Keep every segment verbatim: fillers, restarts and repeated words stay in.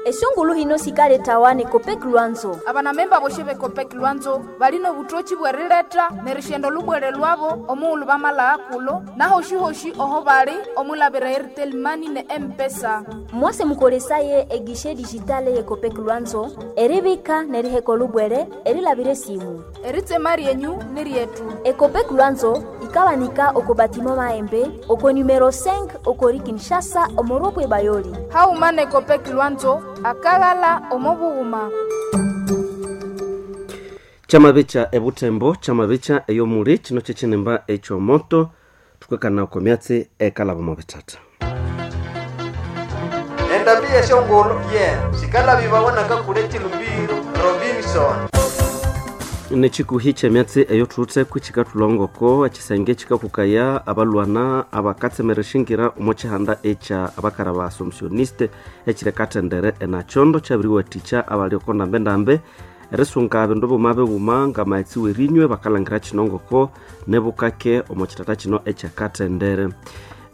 Esungulu hino sikaletawa ne Copec Lwanzo. Abanamemba boshe be Copec Lwanzo balino butochi bwerileta nerishendo lubwere lwabo omuulu bamala kulo nahoshi-hoshi oho bali omulabira Airtel Money ne M-Pesa. Mwase mukolesaye egishe digitale ye Copec Lwanzo eribika neriheko lubwere erilabire simu. Eritsema ryenyu ni ryetu. Ecopec Lwanzo ikawanika oko batimo maembe oko numero cinq okori Kinshasa omoropwe bayoli. Hauma ne Copec Lwanzo akagala omobughuma. Chamabicha ebutembo chamabicha eyomuli chino chechinemba echomoto tukwekana oko myatsi ekalaba mu bitata. Endambi yeshongolo ye sikalabibawanaka kule chilumbiro Robinson. Nechikuhi chemyatsi eyo tutse kuchika tulongoko echisenge chikakukaya abalwana abakatsemereshingira omo chihanda echa abakara ba assumptioniste echirekatendere enachondo chabiriwathikya abali oko ndambendambe erisunga bindu buma bibuma ngamaetsi werinywe bakalangira chinongoko nebukake omo chitata chino ekyakatendere.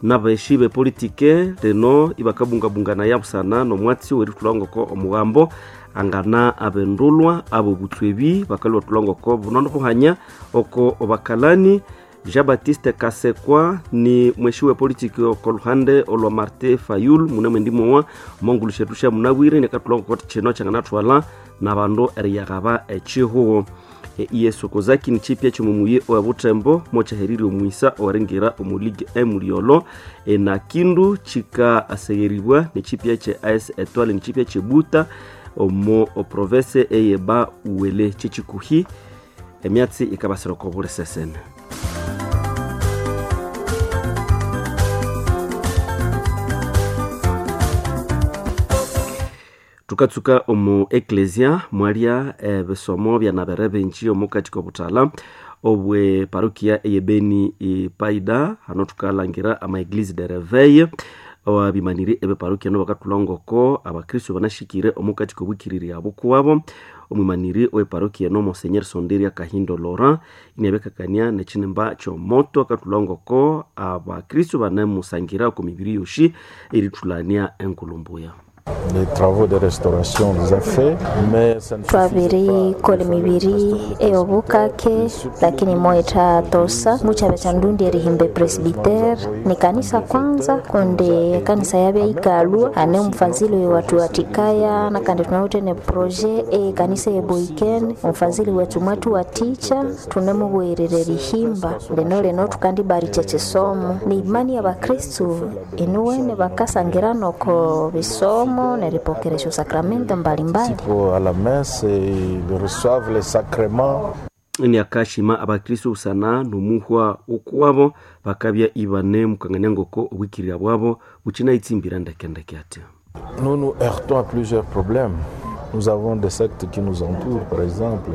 Nabeshi bepolitike lino ibakabungabungana yabusana nomwatsi werithulangoko omugambo angana abendulwa abo butswebi bakalwa tulangoko bunono buhanya oko obakalani. Jean-Baptiste Kasekwa ni mweshi we politiki oko luhande olwa Martin Fayulu mune mwendi mowa omongulu shetu sha munabwire nekatulangoko chino kyanganathwala nabandu eriyaghaba echihuho. Yesu kozaki ni chipya chomumuye owa butembo mochaheriri omwisa owaringira omu ligue emuliolo na kindu chika asegheribwa ni chipya che A S Etoile ni chipya che Buta omo oprovince eyeba uwele chechikuhi emyatsi ikabasira oko buli sesene. Tukatsuka omu eklesia mwalia ebisomo byanabere bingi omu katika obuthala obwe parokia eyebeni ipaida hano tukalangira ama eglise de reveil ababimaniri ebe parokia no bakatulongoko abakristo banashikire omu katika obwikiriri abo kuwabo. Omwimaniri owe parokia no Monseigneur Sonderia Kahindo Laurent inabekakania nechinimba chomoto akatulongoko abakristo banemusangira oko mibiri yoshi erithulania enkulumbuya. Les travaux de restauration les a fait, mais ça ne twabiri kola emibiri ey'obukake lakini moita tosa muchabe cha ndundi erihimba presbytere ni kanisa kwanza kundi kanisa yabya ikalwa ane omufazili watu watikaya na kandi tunawite ne projet e kanisa eboiken omufazili wetu mwatu waticha tunemubwerere erihimba lino lino tukandibaricha chisomo ni imani ya bakristu inuwene bakasangira noko bisomo neripokeresho sakramento mbalimbali. À la messe et ils reçoivent les sacrements. Ni akashima abakristo usana nomuhwa okuwabo bakabya ibane mukangania ngoko obwikirira bwabo buchina itsimbira ndekendeke ati. Nous nous heurtons à plusieurs problèmes. Nous avons des sectes qui nous entourent par exemple.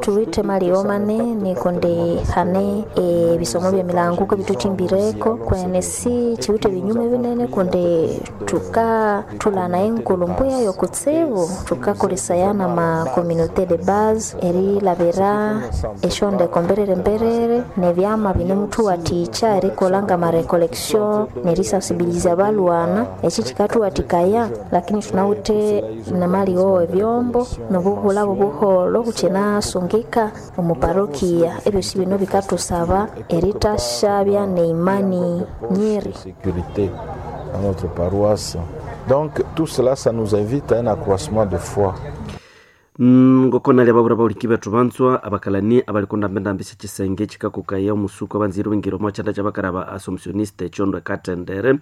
Tuwite malio manene kundi hane ebisomo bya milanguko bituchimbireko kwene si chiwite binyume binene kundi tuka tulana enkulumbuya yokutsibu tukakolesayana ma communauté de base erilabira eshondeko mberere mberere nebyama bine muthu waticha erikolanga ma recollection nerisensibiliza balwana eki kikatuwatikaya lakini tunawite namalio ebyombo nobuhula bubuholo buchina sungika omuparokia ebyosi bino bikatusaba eritasha bya neimani nyeri sécurité dans notre paroisse. Donc tout cela, ça nous invite à un accroissement de foi. Ngoko nali ababura bauliki bethu banzwa abakalani abalikonda mbendambisa chisenge chikakukaya omusuku abanzire bingiro omo chanda chabakara ba assumptioniste chondo ekatendere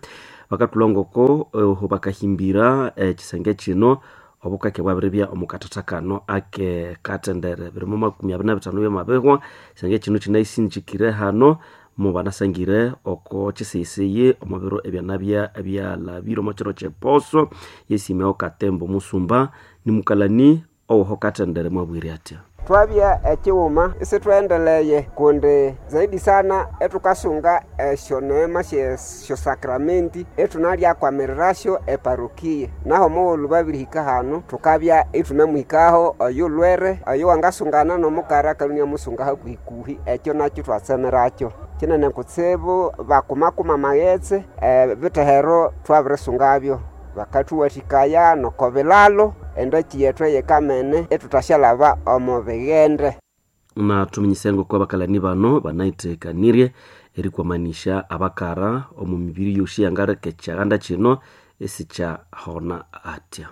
bakatulongoko oho bakahimbira eh, chisenge chino obukake bwabiribya omukatata kano ake katendere birimo makumi abiri na bitano byamabihwa chisenge chino chinaisinjikire hano mubanasangire oko chisiyisiyi omu biro ebyanabya ebyalabire omu kiro kyeposo yesimeo katembo musumba nimukalani owoho katendere mwabwire atya. Twabya ekiwuma isitwendeleye kundi zaidi sana etukasunga esyo neema syesyo sakramenti etunalyakwamirirasyo eparokia naho mughulhu babirihika hanu tukabya itunemuhikaho oyu lwere oyu wangasungana nomukara akalunia musunga hakuhikuhi ekyo nakyo twatsemerakyo kinene kutsibu bakumakuma amaghetse ebithehero twabirisungabyo. Bakathuwathikaya noko bilalo endaki yethu eyekamene ethuthashalaba omo bighende. Na tuminyisengo kwa bakalani bano banaithekanirye erikwamanisha abakara omu mibiri yosi yangareka ekyanda kino esikyahona atya.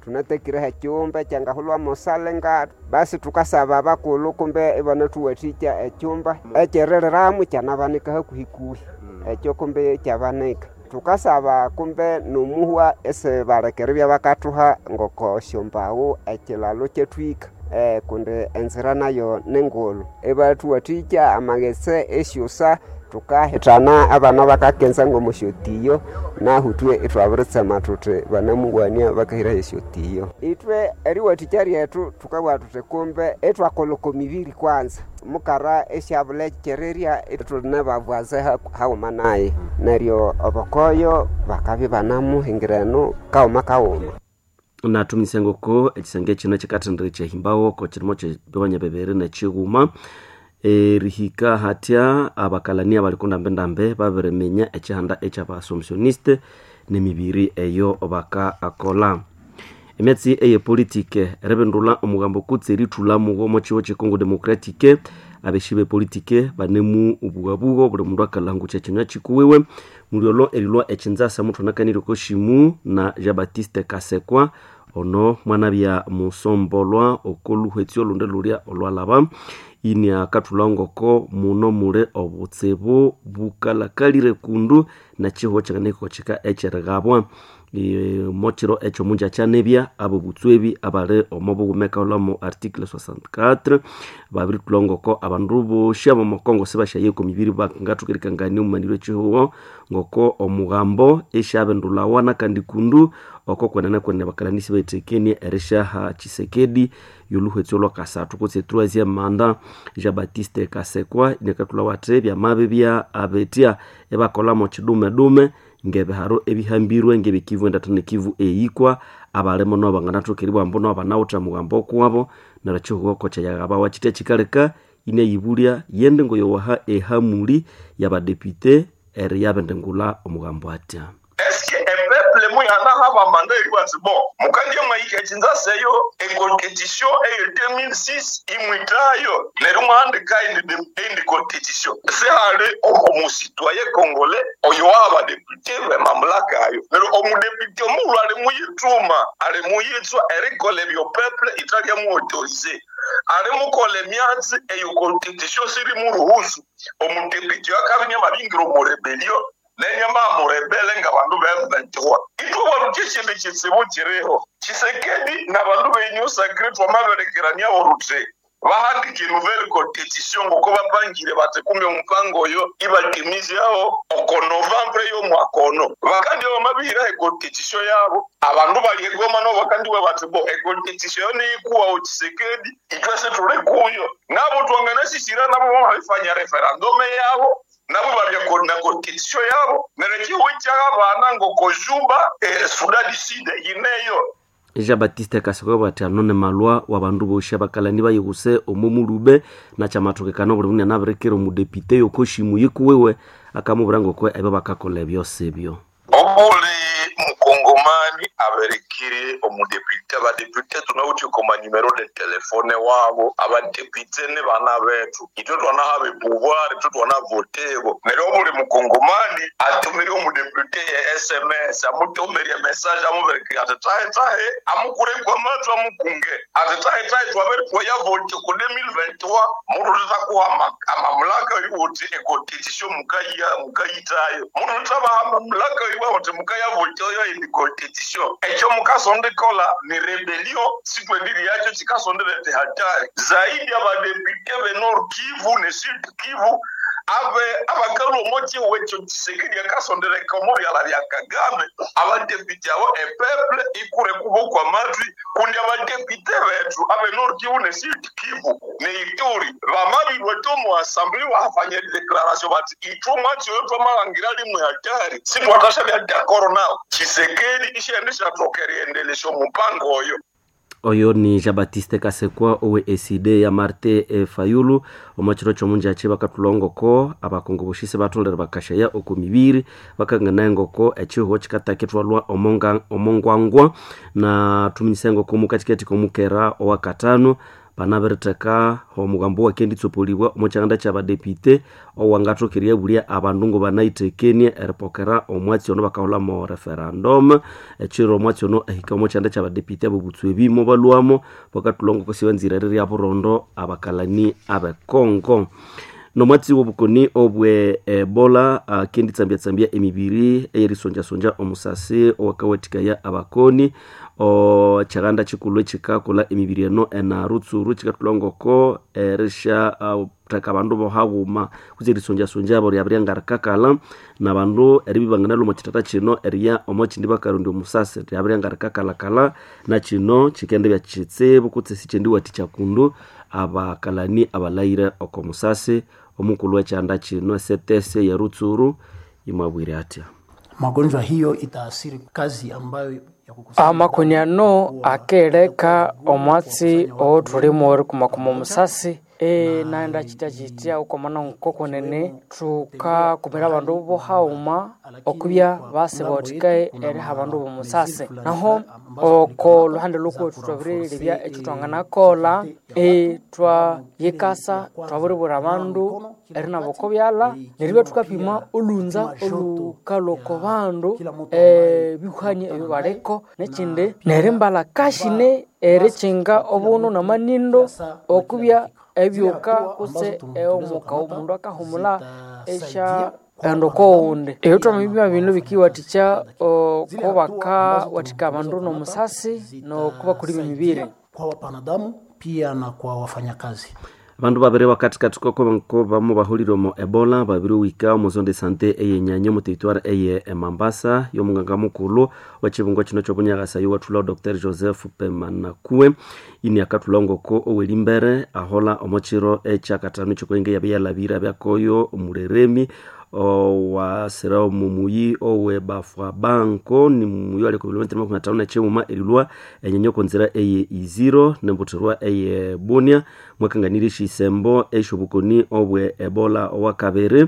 Tunatekireho ekyumba ekyangahulwamu sale ngatu basi tukasaba abakulhu kumbe ibanathuwathikya ekyumba ekyeririramu kyanabanika hakuhikuhi ekyo kumbe kyabanika. Tukasaba kumbe nomuhwa esibaleka eribya bakathuha ngoko syombaghu ekilalo kyathwika eh, kundi enzira nayo ningulhu ibathuwathikya amaghetse esyusa tukahithana abana bakakenza ng'omusyotiyo nahu ithwe ithwabiritsema thuthi banamuwania bakahiraho esyotiyo. Ithwe eriwathikya ryethu thukabugha thuthi kumbe ithwakolha oko mibiri kwanza mukara esyabula ekyererya ithuli nababwaze haghuma naye neryo obokoyo bakabya ibanamuhingira eno kaghuma kaghuma. Natuminyise ngoko ekisenge kino kikathendera kyahimbawo ko kirimo kyebiwanya bibiri nekighuma erihika hatya abakalani abali kundambendambe babiriminya ekihanda ekyabasomsioniste nemibiri eyo bakaakola. Emyatsi eyepolitike eribindulha omugambo kutse erithulhamuwo omo kihugho kye Congo Democratique abeshi bepolitike banemu obugabugo buli mundu akalhangukya ekinywa kikuwiwe mulyolho erilhwa ekinzasa muthwanakanire okoshimu na Jean Baptiste Kasekwa ono mwanabya musombolwa okoluhwetsi olundi lulya olwalaba ini akathulha ngoko muno muli obutsibu bukalakalire kundu nekihugho kyanganahikokika ekyerighabwa. Mokiro ekyo munja kyanebya abo butswebi abali omo bughuma ekaholhamu article sixty-four babirithulha ngoko abandu bosi abomo Congo sibasyaye oko mibiri bangathoka erikangania omumaniro ekihugho ngoko omugambo esyabindulhawa nakandi kundu oko kwenene kwenene bakalani sibathekenie erisyaha Tshisekedi yoluhwetsi olwakasathu kutse troisième mandat. Jean Baptiste Kasekwa inakathulhawa athi byamabibya abetya ebakolhamo kidumedume ngebiharo ebihambirwe ngebikivu endatha nekivu eyikwa abalimo nabo banganathoka eribugha ambu nabo banawithe mugambo okuwabo neryo ekihugho kokyayaghabawa kitya kikaleka inayibulya yende ngoyowaha ehamuli yabadepute eriyabindingulha omugambo atya. Eske epeuple muyanaha manda eribatsi bo mukandie mwahika ekinzasa eyo ecompetition eyo deux mille six imwitayo neryo mwahandika indi competition sihali omusitwaye congolais oyo wabadepute bemamulaka ayo neryo omudepute omulhu ali muyithuma ali muyitswa erikola ebyo peuple italyamuautorise ali mukola emyatsi eyo competition siri muruhusu omudepute akabinya mabingira omurebelio nenyama murebele nga bandu be M twenty-three itwe waruke kindu kitsibu kiriho Tshisekedi na bandu be Union Sacrée twamaberekerania orute bahandike nouvelle constitution ngoko bapangire bati kumbe omupango oyo ibatimizaho oko novembre y'omwaka ono bakandi bamabihiraho econstitution yabo abandu bali egoma nabo bakandiwe bati bo econstitution yo niyikuwaho Tshisekedi itwese tuli kuyo nabo twanganasisira nabo bamabifanya referendum yabo nabo babya na constitution yabo neryo ekihugo ky'abaana ngoko Juba eh, Sudan du Sud yineyo. Jean Baptiste Kasekwa bati ano ne malwa wa bandu bosi abakalani bayihuse omo mulube nakyamathokekana obuli mundu anabirikira omudepite yokoshimu yikuwiwe akamubwira ngoko ebyo bakakolha ebyosi ebyo. Obuli mukongomani aberekire omudepite abadepite tunawuthi koma numero de telefone wabo abadepite ne bana bethu itwe twanahaba epouvoir itwe twanavotebo neryo obuli mukongomani atumire omudepite ye S M S amutumirie message amuberekire ati tahe tahe amukure kwamathu amukunge ati tahe tahe twabere twayavote ku deux mille vingt-trois mundu tutakuha amamulaka yuti econstitution mukaya mukayitayo mundu tutabaha amamulaka yuti mukayavoteyo indi constitution ekyo mukasondikola ni rebellion sikwendiri yakyo kikasonderete hatari zaidi abadepite be Nord Kivu ne Sud Kivu abe abakalu omoki wekyo Tshisekedi akasondereka omo byala bya Kagame abadepite abo epeuple ikure kubokwa amatwi kundi abadepite bethu abe Nord Kivu ne Sud Kivu ne Ituri bamabirwe tomu assembly bahafanya declaration bati itwe mwatsi oyo twamalangira limwe hatari sitwatasha bya d'accord nao Tshisekedi ishendisha tokeriendelesha omupango oyo. Oyo ni Jean Baptiste Kasekwa owe E C D ya Marte e Fayulu omwachiro chomunjachi bakatulongoko abakongo boshise batolera bakashaya oko mibiri bakangana engoko echiho chikataketwalwa omonga omongwangwa na tuminyisa engoko mukatikati komukera owakatano banabiriteka omugambo wakenditsopolibwa omukyanda kyabadepite owangathokeria bulia abandu ngo banaitekenie eripokera omwatsi ono bakahulamo referendum ekiro omwatsi ono ehika omukyanda kyabadepite abobutswa ebimo balwamo bakatulongo kosibanzira rirya burondo abakalani abekongo nomwatsi wobukoni obwe ebola akenditsambiatsambia emibiri eyerisonjasonja omusasi owakawathikaya abakoni okyaganda kyikulhu ekikakolha emibiri eno enarutsuru kikathulhangoko erisha theka abandu bohaghuma kutse erisonjasonja abo ryabirya ngarikakalha nabandu eribibangana omo kyithatha kino eriya omo kyindi bakarondya omusasi ryabirya ngarikakalhakalha nakino kyikendibya kyitsibu kutse sikyendiwathikya kundu abakalani abalhayire oko musasi omukulhu wekyanda kino esetese yerutsuru imwabwire atya magonjwa hiyo itaasiri kazi ambayo amakoni ano akeleka omwatsi oothulimu erikumakuma omusasi e naenda chitya chitya ukwamana nkokonene thukakumira abandu bohaghuma okubya basibawathikaye eriha abandu bomusasi naho oko luhande lhukwethu thwabirilebya ekyo thwanganakolha e twayikasa twabiribwira abandu erinaba oko byalha neribya thukapima olhunza olhukalhwa oko bandu ebihwani ebyo baliko nekindi nerimbalha kashine erikinga obunu namanindo okubya ebyuka kutse omuka omundu akahumula esya enda okowundi ebyo twamabipima bino bikiwathikya okubakawathika abandu nomusasi nokubakulima emibiri kwa wapanadamu pia na kwa wafanyakazi abandu babiri bakathikathi koko bamo bahulire omo ebola babiri wika omu zone de sante eyenyanya omu territoire eye emambasa y'omunganga mukulhu w'ekibungo kino ky'obunyakasa yowathulha Doctor Joseph Pemanakue ini akathulha ngoko owelimbere ahola omo kiro ekyakatano ekyokwenge yabe yalabire abyakoyo omureremi owasira omumuyi owe bafwa banko ni muyi ali ku bilometero makumi atano nekyimuma erilwa enyanya okonzira eye iziro nembutherwa eye bunia mwakanganire esyisembo esyobukoni obwe ebola owakabiri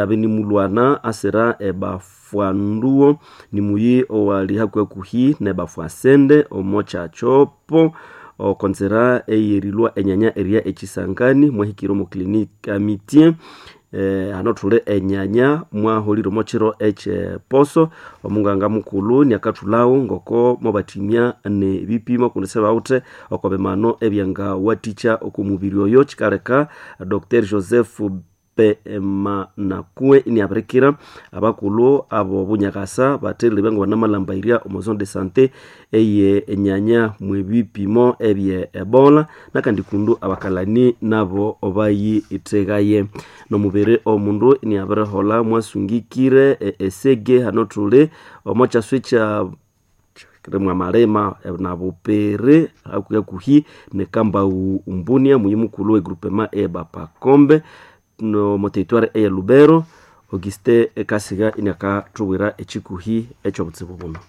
abe nimulwana asira ebafwa nduwo ni muyi owali hakuhakuhi nebafwa sende omo kyakyopo okonzera eyerilwa enyanya eria ekisangani mwahikire omu clinique amitie eh, hano thule enyanya mwaholire omo kiro ekyeposo omunganga mukulhu niakathulhawo ngoko mwabathimya nebipimo kundi sibawithe oko bimano ebyangawathikya oko mubiri oyo kikaleka Doctor Joseph Pemanakue iniabirikira abakulhu abo bunyakasa bathelile ngo banamalhambayirya omo zone de sante eye enyanya mwebipimo ebye ebola nakandi kundu abakalani nabo bayithekaye nomubiri omundu iniabiriholha mwasungikire esege hano thuli omo kyaswe kya mwamalema nabupere hakuhi nekambau umbunia muyi mukulhu wegrupema ebapakombe no mo territoire eye Lubero Auguste Kasiga inakathubwira ekikuhi ekyobutsibu buno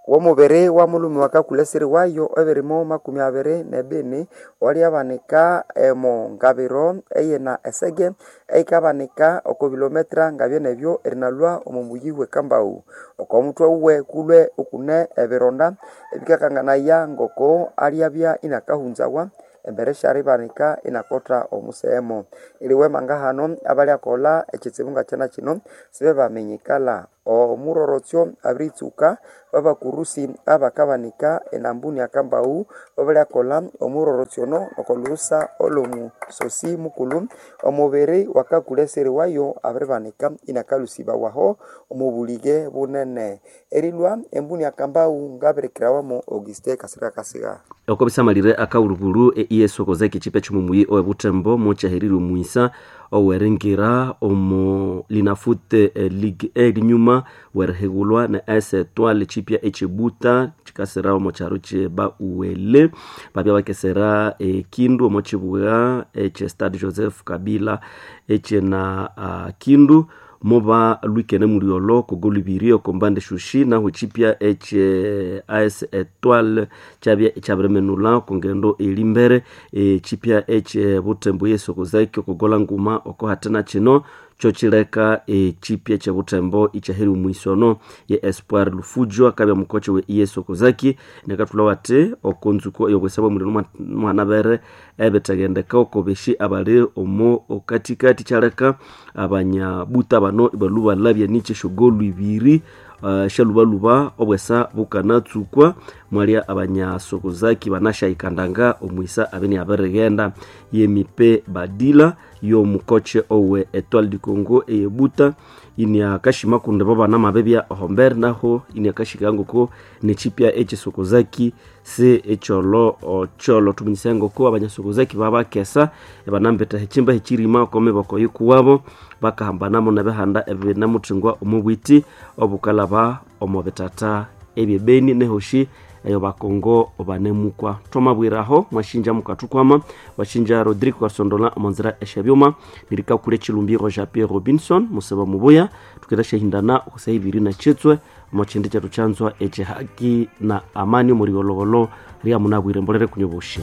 womubiri wa mulumi wakakuleseri wayo ebirimo makumi abiri nebini walyabanika emo ngabiro eyina esege eikabanika oko bilometra ngabye nebyo erinalwa omo muyi wekambau oko mutwe uwe kulwe ukune ebironda ebikakanganaya ngoko alyabya inakahunzawa embere syaribanika inakotha omusehemo iliwema hano abalyakolha ekitsibu ngakyana kino sibe baminyikala omurorotsyo abiritsuka babakurusi abakabanika enambuni akambau babalyakolha omurorotsyo ono okolhusa olwomusosi mukulhu omubiri wakakuleseri wayo abiribanika inakalusibawaho omubulige bunene erilwa embuni akambau ngabirikirawamu Auguste Kasirika Kasiga oko bisamalire akawulukulu eiesokoza ekichipa ekyomumuyi owebuthembo mukyaherire omwisa oweringira omu linafute league erinyuma werihigulwa ne S Etoile chipya echibuta chikasira omo kyaro kyeba uwele babya bakesera ekindu omo kibugha ekye Stade Joseph Kabila ekyena uh, kindu moba lwikene muliolo kogolubiri okombande shushi naho echipya eche as Etoile kyabya ekyabirimenula okongendo eri mbere echipya eche Butembo yesokozaki okogola nguma oko hatena kino kyokileka echipya kye Butembo ikyaheri omwisono ye Espoir Lufujo akabya mukoche we yesokozaki nekathulha wati okonzuko eyobwesa bwa muliro mwanabere ebithagendeka okobeshi abali omo okatikati kyaleka abanyabuta bano ibalhuba balabya nikye esyogolu ibiri uh, syalubaluba obwesa bukanatsukwa mwalya abanyasokozaki banashayikandanga omwisa abeni abirighenda yemipe badila yomukoche owe Etoile du Congo eyebuta iniakashima kundi bo banamabebya ohombere naho iniakashika ngoko nechipya echisokozaki se echolo ocholo tuminyisa ngoko abanyasokozaki babakesa ebanambeta hechimba hechirima okomiboko yikuwabo bakahambanamo nebihanda ebinamuthingwa omubwiti obukalaba omo bitata ebyebeni nehoshi eyo bakongo banemukwa twamabwiraho mwashinja mukathukwama washinja Rodrigo Kasondola omonzira esyabyuma nirikakule chilumbiro Jean Pierre Robinson museba mubuya tukenda syahindana okusa ibiri na chitswe omo chindi kyethu kyanzwa ekyehaki na amani omuli gologolo ria munabwire mbolere kunyoboshi.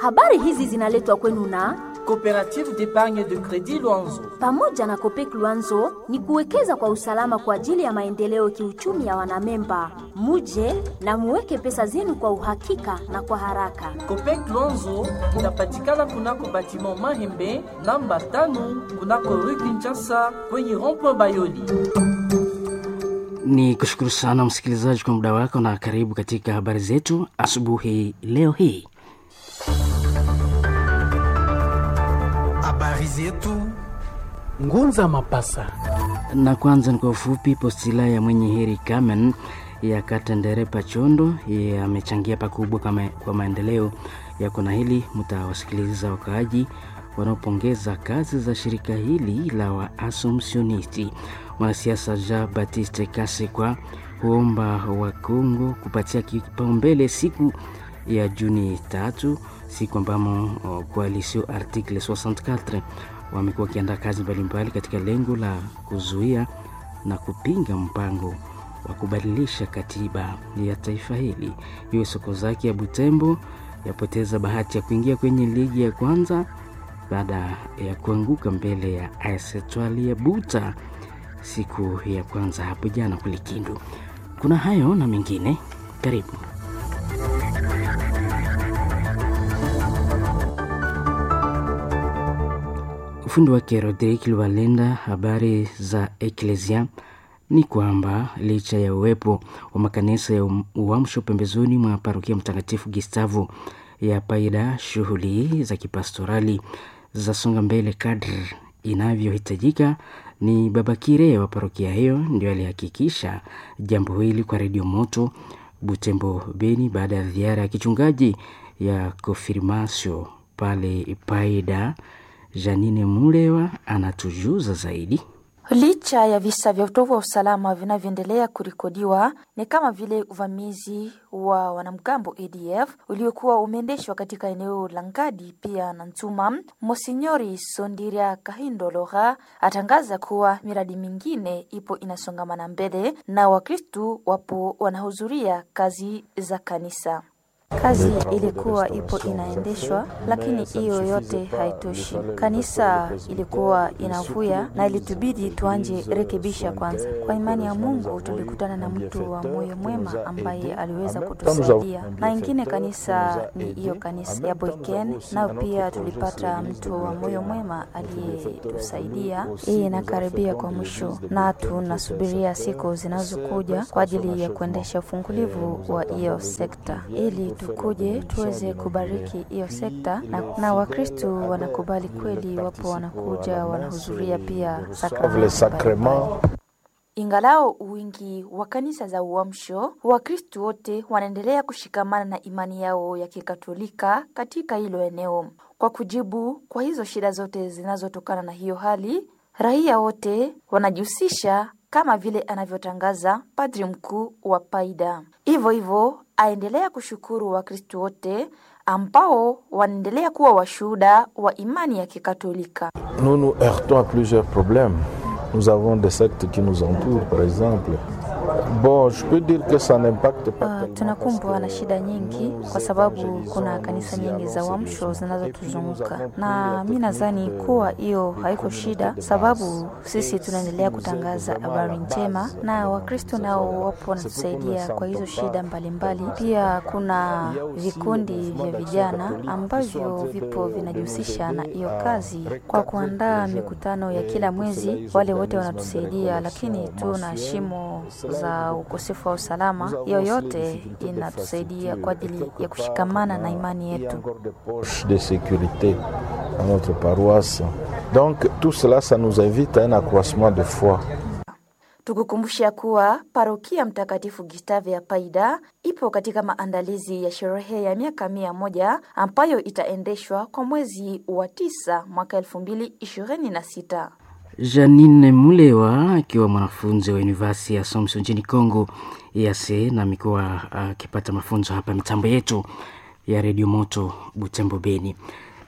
Habari hizi zinaletwa kwenu na Coopérative d'épargne de crédit Luanzo. Pamoja na Copec Luanzo ni kuwekeza kwa usalama kwa ajili ya maendeleo kiuchumi ya wanamemba. Muje na muweke pesa zenu kwa uhakika na kwa haraka. Copec Luanzo inapatikana kunako batiment Mahembe namba tano kunako rue Kinshasa kwenye rond-point Bayoli. Ni kushukuru sana msikilizaji kwa muda wako na karibu katika habari zetu asubuhi leo hii. Habari zetu Ngunza Mapasa. Na kwanza ni kwa ufupi, postila ya mwenye heri Carmen ya Katendere Pachondo yamechangia pakubwa kama, kwa maendeleo ya kona hili. Mtawasikiliza wakaaji wanaopongeza kazi za shirika hili la Waasomsionisti. Mwanasiasa Jean Baptiste Kasekwa huomba Wakongo kupatia kipaumbele siku ya Juni tatu, siku ambamo koalisio article sitini na nne wamekuwa wakiandaa kazi mbalimbali katika lengo la kuzuia na kupinga mpango wa kubadilisha katiba ya taifa hili. Iwe soko zake ya Butembo yapoteza bahati ya kuingia kwenye ligi ya kwanza baada ya kuanguka mbele ya A S Etoile ya Buta siku ya kwanza hapo jana kule Kindu. Kuna hayo na mengine, karibu. Ufundi wake Rodrick Lubalenda. Habari za Eklesia ni kwamba licha ya uwepo wa makanisa ya uamsho pembezoni mwa parokia Mtakatifu Gustavo ya Paida, shughuli za kipastorali za songa mbele kadri inavyohitajika. Ni Baba Kire wa parokia hiyo ndio alihakikisha jambo hili kwa Redio Moto Butembo Beni baada ya ziara ya kichungaji ya konfirmasio pale Paida. Janine Mulewa anatujuza zaidi. Licha ya visa vya utovu wa usalama vinavyoendelea kurekodiwa ni kama vile uvamizi wa wanamgambo A D F uliokuwa umeendeshwa katika eneo la Ngadi pia na Ntuma, Monsinyori Sondiria Kahindolora atangaza kuwa miradi mingine ipo inasongamana mbele na Wakristu wapo wanahudhuria kazi za kanisa. Kazi ilikuwa ipo inaendeshwa, lakini hiyo yote haitoshi. Kanisa ilikuwa inavuya na ilitubidi tuanje rekebisha kwanza. Kwa imani ya Mungu tulikutana na mtu wa moyo mwema ambaye aliweza kutusaidia, na ingine kanisa ni hiyo kanisa ya Boyken, nayo pia tulipata mtu wa moyo mwema aliyetusaidia. Hii inakaribia kwa mwisho na tunasubiria siku zinazokuja kwa ajili ya kuendesha ufungulivu wa hiyo sekta ili tukuje tuweze kubariki hiyo sekta na, na Wakristo wanakubali kweli, wapo wanakuja wanahudhuria pia sakramenti. Ingalao wingi wa kanisa za uamsho, Wakristo wote wanaendelea kushikamana na imani yao ya Kikatolika katika hilo eneo. Kwa kujibu kwa hizo shida zote zinazotokana na hiyo hali, raia wote wanajihusisha kama vile anavyotangaza padri mkuu wa Paida. Hivyo hivyo Aendelea kushukuru Wakristo wote ambao wanaendelea kuwa washuhuda wa imani ya Kikatolika. Nous nous heurtons à plusieurs problèmes. Nous avons des sectes qui nous entourent, par exemple. Bon, je peux dire que ça n'impacte pas Uh, tunakumbwa na shida nyingi kwa sababu kuna kanisa nyingi za uamsho zinazotuzunguka, na mi nadhani kuwa hiyo haiko shida, sababu sisi tunaendelea kutangaza habari njema na Wakristo nao wapo wanatusaidia kwa hizo shida mbalimbali mbali. Pia kuna vikundi vya vijana ambavyo vipo vinajihusisha na hiyo kazi kwa kuandaa mikutano ya kila mwezi. Wale wote wanatusaidia, lakini tuna shimo za ukosefu wa usalama. Hiyo yote inatusaidia kwa ajili ya kushikamana na imani yetu. Poche de sécurité dans notre paroisse. Donc tout cela, ça nous invite à un accroissement de foi. Tukukumbusha kuwa parokia Mtakatifu Gustave ya Paida ipo katika maandalizi ya sherehe ya miaka mia moja ambayo itaendeshwa kwa mwezi wa tisa mwaka elfu mbili ishirini na sita. Janine Mulewa akiwa mwanafunzi wa University ya Assumption nchini Congo E A C na amekuwa akipata mafunzo hapa mitambo yetu ya Radio Moto Butembo Beni.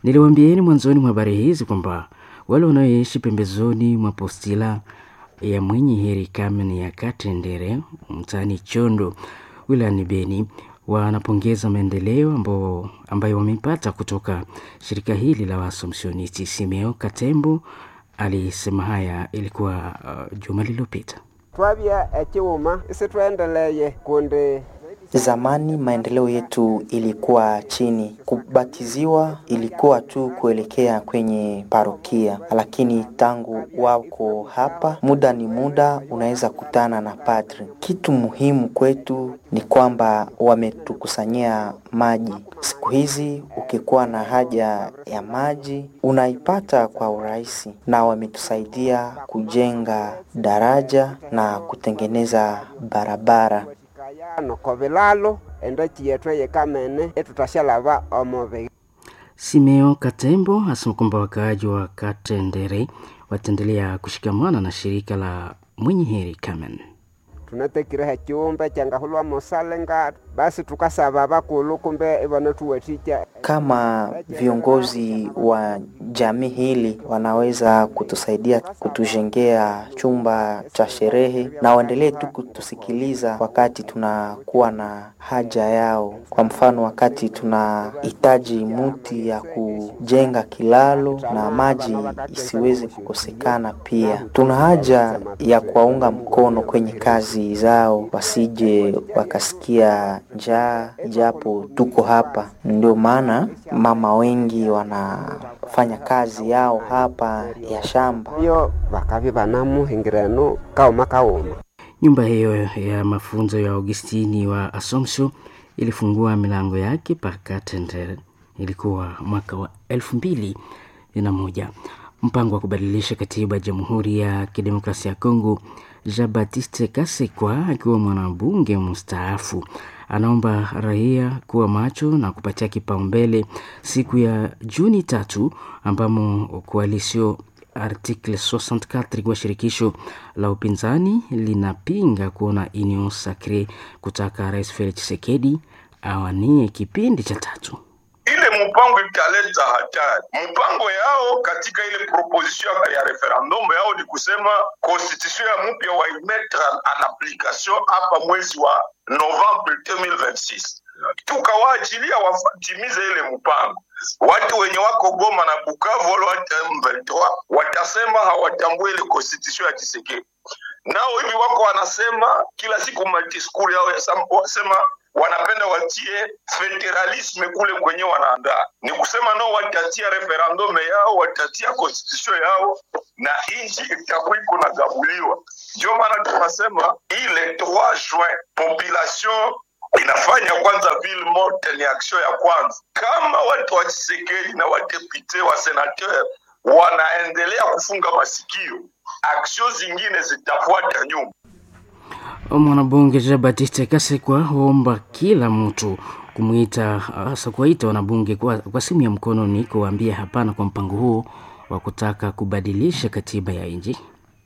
Niliwaambieni mwanzoni mwa habari hizi kwamba wale wanaoishi pembezoni mwa postila ya Mwenye Heri Kamen ya Katendere mtaani Chondo wilayani Beni wanapongeza maendeleo ambao ambayo wameipata kutoka shirika hili la Waassumptionisti. Simeo Katembo alisema haya ilikuwa uh, juma lililopita. Twabya ekiwuma isitwendeleye kundi. Zamani maendeleo yetu ilikuwa chini, kubatiziwa ilikuwa tu kuelekea kwenye parokia, lakini tangu wako hapa, muda ni muda, unaweza kutana na padri. Kitu muhimu kwetu ni kwamba wametukusanyia maji. Siku hizi ukikuwa na haja ya maji unaipata kwa urahisi, na wametusaidia kujenga daraja na kutengeneza barabara. Nokovilalo endaki yetu eyekamene etutashalava omubi. Simeo Katembo asema kwamba wakaaji wa Katendere wataendelea kushikamana na shirika la Mwenye Heri Kamen. Tunatekireha ekiwumba kyangahulwa musale nga basi tukasaba bakulu kumbe ibanatuwatikya. Kama viongozi wa jamii hili wanaweza kutusaidia kutujengea chumba cha sherehe, na waendelee tu kutusikiliza wakati tunakuwa na haja yao. Kwa mfano, wakati tunahitaji muti ya kujenga kilalo na maji isiweze kukosekana. Pia tuna haja ya kuwaunga mkono kwenye kazi zao, wasije wakasikia njaa japo tuko hapa. Ndio maana mama wengi wanafanya kazi yao hapa ya shamba. Iyo bakabi banamuhingirano kauma kauma. Nyumba hiyo ya mafunzo ya Augustini wa Assumption ilifungua milango yake Pakatendere, ilikuwa mwaka wa elfu mbili na moja. Mpango wa kubadilisha katiba ya Jamhuri ya Kidemokrasia ya Kongo, Jean Baptiste Kasekwa akiwa mwanabunge mstaafu anaomba raia kuwa macho na kupatia kipaumbele siku ya Juni tatu ambamo koalisio Article sitini na nne kwa shirikisho la upinzani linapinga kuona Union Sacree kutaka Rais Felix Tshisekedi awanie kipindi cha tatu. Ile mpango italeta hatari. Mpango yao katika ile proposition ya referendum yao ni kusema constitution ya mpya waimetre en application hapa mwezi wa Novembre elfu mbili ishirini na sita. Tukawaachilia watimize ile mpango. Watu wenye wako Goma na Bukavu wale wa M ishirini na tatu watasema hawatambui ile constitution ya Tshisekedi. Nao hivi wako wanasema kila siku madiskuri yao wasema wanapenda watie federalisme kule kwenye wanaandaa. Ni kusema nao watatia referendum yao, watatia constitution yao na inchi itakuwa iko na gabuliwa. Ndio maana tunasema ile trois juin population inafanya kwanza ville morte ni action ya kwanza. Kama watu wa Tshisekedi na wadepute wa senateur wanaendelea kufunga masikio, action zingine zitafuata nyuma. Mwanabunge Jean Baptiste Kasekwa huomba kila mtu kumuita, hasa kuwaita wanabunge kwa, kwa simu ya mkononi kuwaambia hapana kwa mpango huo wa kutaka kubadilisha katiba ya nchi.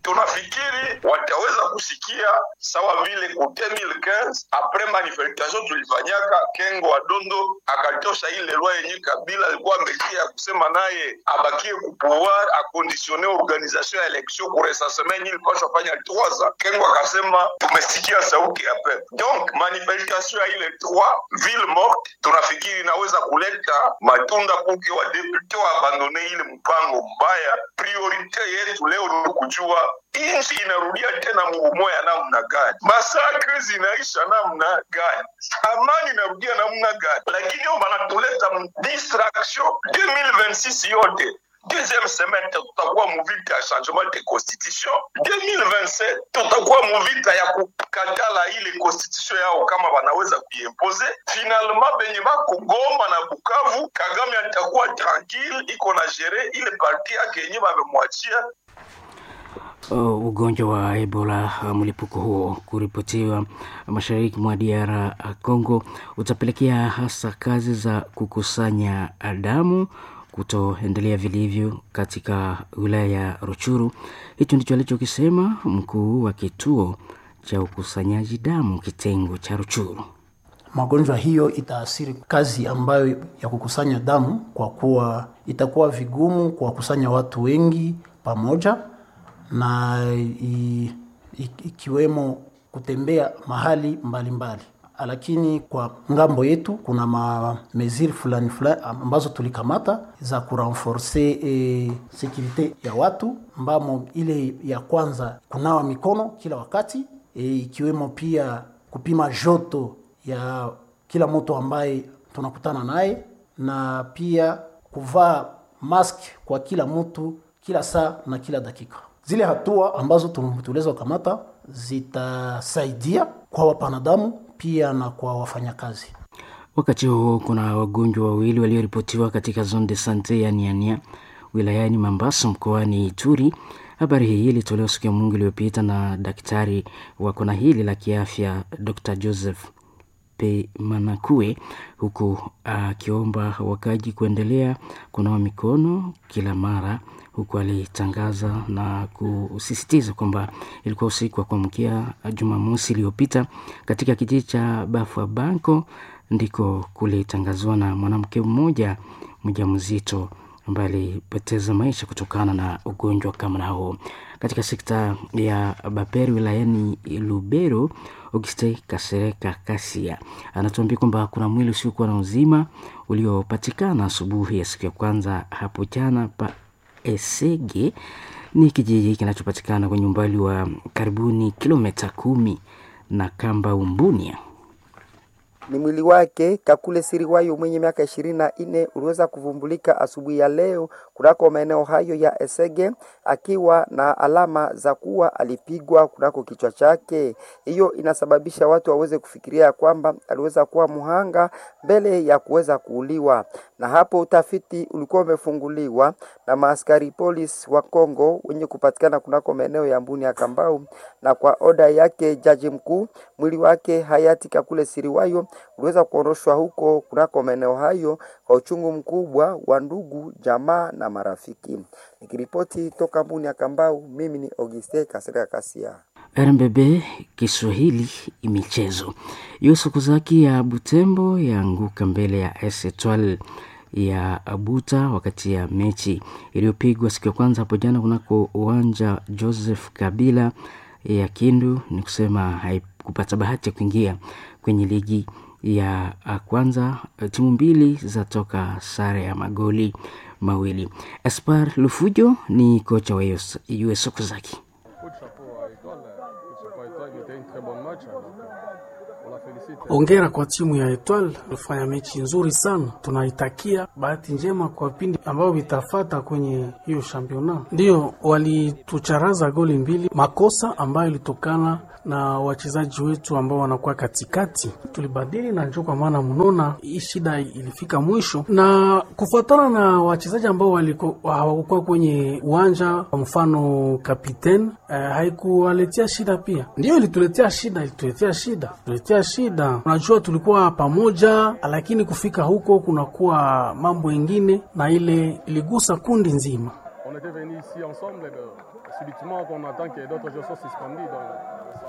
Tunafikiri wataweza kusikia sawa vile ku deux mille quinze après manifestation tulifanyaka, Kengo wa Dondo akatosha ile loi yenye Kabila alikuwa ametia kusema naye abakie ku pouvoir aconditionner organisation ya election ku recensement yenye ilipaswa fanya trois ans. Kengo akasema tumesikia sauti ya peuple. Donc manifestation ya ile trois ville morte tunafikiri inaweza kuleta matunda kuke wa député wa abandonner ile mpango mbaya. Priorité yetu leo ni kujua inchi inarudia tena muumoya namna gani, massacres zinaisha namna gani, amani inarudia namna gani, lakini yo banatuleta distraction deux mille vingt-six yote deuxième semaine tutakuwa muvita ya changement de constitution, deux mille vingt-sept tutakuwa muvita ya kukatala ile constitution yao kama wanaweza kuiimposer. Finalement benye bako Goma na Bukavu, Kagame atakuwa tranquille, iko na gérer ile parti yake yenye bamemwachia. Uh, ugonjwa wa Ebola, uh, mlipuko huo kuripotiwa mashariki mwa D R Congo utapelekea hasa kazi za kukusanya damu kutoendelea vilivyo katika wilaya ya Ruchuru. Hicho ndicho alichokisema mkuu wa kituo cha ukusanyaji damu kitengo cha Ruchuru. Magonjwa hiyo itaathiri kazi ambayo ya kukusanya damu, kwa kuwa itakuwa vigumu kuwakusanya watu wengi pamoja na i, i, ikiwemo kutembea mahali mbalimbali mbali. Lakini kwa ngambo yetu kuna mameziri fulani fulani ambazo tulikamata za kurenforce e, sekurite ya watu, ambamo ile ya kwanza kunawa mikono kila wakati e, ikiwemo pia kupima joto ya kila mtu ambaye tunakutana naye na pia kuvaa mask kwa kila mtu kila saa na kila dakika. Zile hatua ambazo tuliweza kukamata zitasaidia kwa wapanadamu pia na kwa wafanyakazi. Wakati huo kuna wagonjwa wawili walioripotiwa katika zone de sante ya Niania wilayani Mambasa mkoani Ituri. Habari hii ilitolewa siku ya Mungu iliyopita na daktari wa kona hili la kiafya Doctor Joseph P Manakue, huku akiomba wakaji kuendelea kunawa mikono kila mara, huku alitangaza na kusisitiza kwamba ilikuwa usiku wa kuamkia Jumamosi iliyopita katika kijiji cha Bafwa Banko ndiko kulitangazwa na mwanamke mmoja mjamzito ambaye alipoteza maisha kutokana na ugonjwa kama na huo. Katika sekta ya Baperi wilayani Lubero, Auguste Kasereka Kasia anatuambia kwamba kuna mwili usiokuwa na uzima uliopatikana asubuhi ya siku ya kwanza hapo jana pa Esege, ni kijiji kinachopatikana kwenye umbali wa karibuni kilomita kumi na Kamba Umbunia. Ni mwili wake Kakule Siriwayo mwenye miaka ishirini na nne uliweza kuvumbulika asubuhi ya leo kunako maeneo hayo ya Esege akiwa na alama za kuwa alipigwa kunako kichwa chake. Hiyo inasababisha watu waweze kufikiria kwamba aliweza kuwa muhanga mbele ya kuweza kuuliwa, na hapo utafiti ulikuwa umefunguliwa na maaskari polisi wa Kongo wenye kupatikana kunako maeneo ya Mbuni ya Kambau, na kwa oda yake jaji mkuu, mwili wake hayati Kakule Siriwayo uliweza kuondoshwa huko kunako maeneo hayo kwa uchungu mkubwa wa ndugu, jamaa na marafiki. Nikiripoti toka Mbuni ya Kambau, mimi ni Auguste Kasereka Kasia. R M B B Kiswahili michezo. Yusuf Kuzaki ya Butembo yaanguka mbele ya A S Etoile ya Abuta wakati ya mechi iliyopigwa siku ya kwanza hapo jana kunako uwanja Joseph Kabila ya Kindu, ni kusema haikupata bahati ya kuingia kwenye ligi ya kwanza. Timu mbili zatoka sare ya magoli mawili. Espoir Lufujo ni kocha wa U S Okazaki. Hongera kwa timu ya Etoile, ilifanya mechi nzuri sana. Tunaitakia bahati njema kwa vipindi ambavyo vitafata kwenye hiyo championnat. Ndiyo walitucharaza goli mbili, makosa ambayo ilitokana na wachezaji wetu ambao wanakuwa katikati. Tulibadili na njo kwa maana mnona hii shida ilifika mwisho, na kufuatana na wachezaji ambao hawakuwa kwenye uwanja, kwa mfano kapiten eh, haikuwaletea shida pia. Ndiyo ilituletea shida, ilituletea shida, tuletea shida. Unajua tulikuwa pamoja, lakini kufika huko kunakuwa mambo ingine, na ile iligusa kundi nzima. On était venus ici ensemble, et ben, subitement qu'on attend que d'autres jeux soient suspendus. Donc,